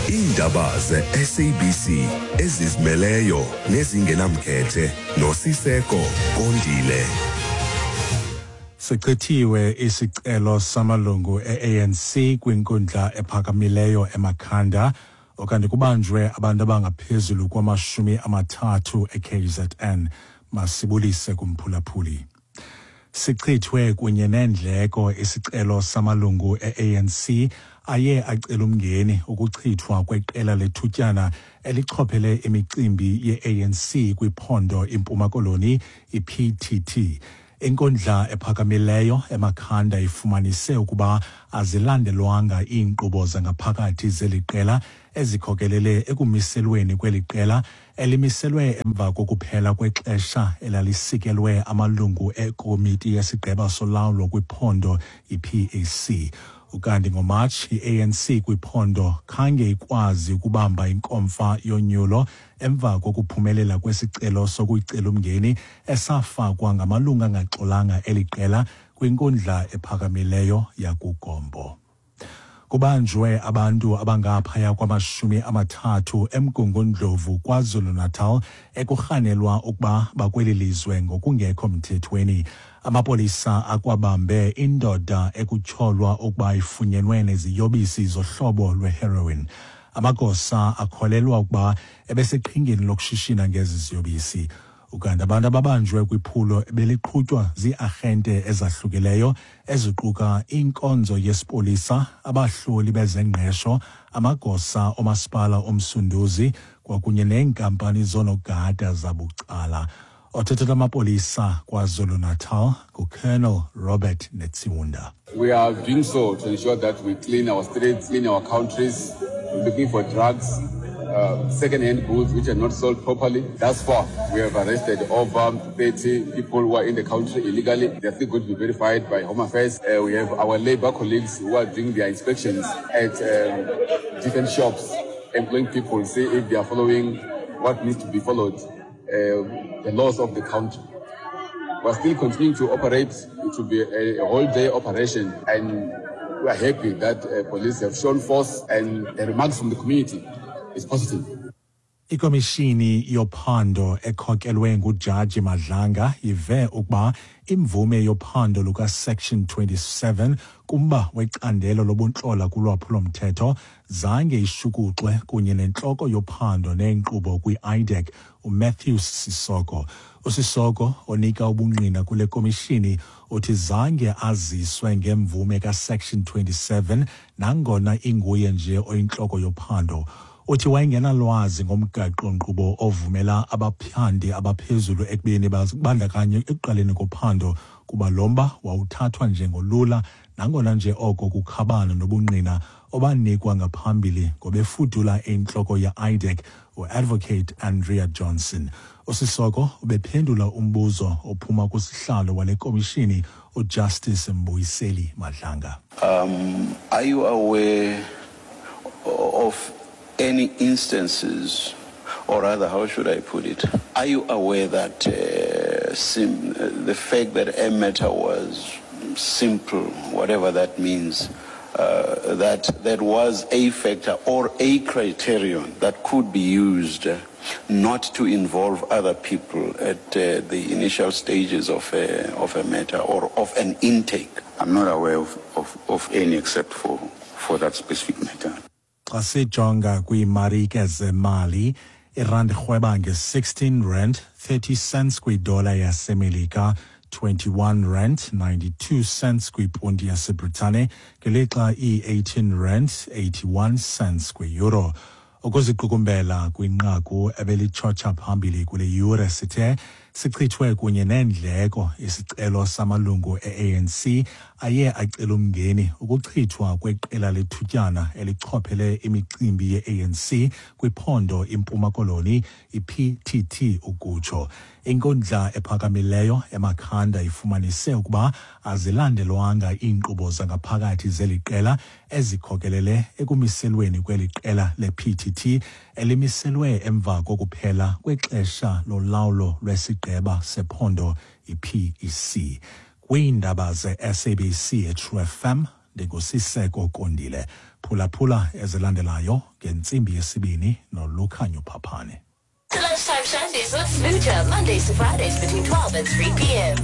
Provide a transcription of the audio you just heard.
Iindaba ze-SABC ezizimeleyo nezingenamkhethe noSiseko Kondile. Sichithiwe isicelo samalungu e-ANC kwinkundla ephakamileyo eMakhanda okanti kubanjwe abantu abangaphezulu kwamashumi amathathu e-KZN. Masibulise kumphulaphuli. Sichithwe kunye neendleko isicelo samalungu e-ANC aye acela umngeni ukuchithwa kweqela lethutyana elichophele imicimbi ye-ANC kwiphondo iMpuma Koloni iPTT. Inkundla ephakamileyo eMakhanda ifumanise ukuba azilandelwanga iinkqubo zangaphakathi zeli qela ezikhokelele ekumiselweni kweli qela elimiselwe emva kokuphela kwexesha elalisikelwe amalungu ekomiti yesigqeba solawulo kwiphondo iPAC. Ukanti ngoMatshi i-ANC kwiphondo khange ikwazi ukubamba inkomfa yonyulo emva kokuphumelela kwesicelo sokuyicela umngeni esafakwa ngamalungu angaxolanga eli qela kwinkundla ephakamileyo yakuGompo. Kubanjwe abantu abangaphaya kwamashumi amathathu eMgungundlovu KwaZulu-Natal ekurhanelwa ukuba bakweli lizwe ngokungekho mthethweni. Amapolisa akwabambe indoda ekutyholwa ukuba ifunyenwe neziyobisi zohlobo lweheroin. Amagosa akholelwa ukuba ebeseqhingeni lokushishina ngezi ziyobisi. Ukanti abantu ababanjwe kwiphulo beliqhutywa zii-arhente ezahlukileyo eziquka inkonzo yesipolisa, abahloli bezengqesho, amagosa omasipala oMsunduzi kwakunye neenkampani zoonogada zabucala. Othethela amapolisa KwaZulu-Natal nguColonel Robert Netshiunda. We are doing so to ensure that we clean our streets, clean our countries. We're looking for drugs, second-hand goods which are not sold properly. Thus far, we have arrested over 30 people who are in the country illegally. They are still going to be verified by Home Affairs. We have our labor colleagues who are doing their inspections at different shops, employing people, see if they are following what needs to be followed, the laws of the country. We are still continuing to operate. It will be a whole day operation, and we are happy that police have shown force and the remarks from the community is positive. Ikomishini yophando ekhokelwe nguJaji Madlanga ive ukuba imvume yophando luka-Section 27 kumba wecandelo lobuntlola kulwaphulo-mthetho zange ishukuxwe kunye nentloko yophando neenkqubo kwi-IDAC uMatthews Sisoko. USisoko onika ubungqina kule komishini uthi zange aziswe ngemvume ka-Section 27 nangona inguye nje oyintloko yophando. Uthi wayengenalwazi ngomgaqo-nkqubo ovumela abaphandi abaphezulu ekubeni bazibandakanye ekuqaleni kophando kuba lo mba wawuthathwa njengolula nangona nje oko kukhabana nobungqina obanikwa ngaphambili ngobefudula intloko ye-IDAC uAdvocate Andrea Johnson. USisoko ubephendula umbuzo ophuma kusihlalo wale komishini uJustice Mbuyiseli Madlanga. Are you aware of any instances, or rather, how should I put it? Are you aware that the fact that a matter was simple, whatever that means, that that was a factor or a criterion that could be used not to involve other people at the initial stages of a matter or of an intake? I'm not aware of any except for that specific matter. Xa sijonga kwiimarike zemali, irandi irhweba nge-16 rand 30 cents kwidola yaseMelika, 21 rand 92 cents kwiponti yaseBritane, ngelixa i-18 rand 81 cents kwi-euro. Ukuziqukumbela kwinqaku ebelitshotsha phambili kule yure sithe sichithwe kunye neendleko isicelo samalungu e-ANC aye acela umngeni ukuchithwa kweqela lethutyana elichophele imicimbi ye-ANC kwiphondo iMpuma Koloni iPTT ukutsho. Inkundla ephakamileyo eMakhanda ifumanise ukuba azilandelwanga iinkqubo zangaphakathi zeli qela ezikhokelele ekumiselweni kweli qela le-PTT elimiselwe emva kokuphela kwexesha lolawulo lwesigqeba sephondo iPEC. Kwiindaba ze-SABC eTrue FM, Ndingusiseko Kondile. Phulaphula ezilandelayo ngentsimbi yesibini noLukhanyo Phaphane. The Lunchtime Shandies with Smoocha, Mondays to Fridays between 12 and 3 p.m.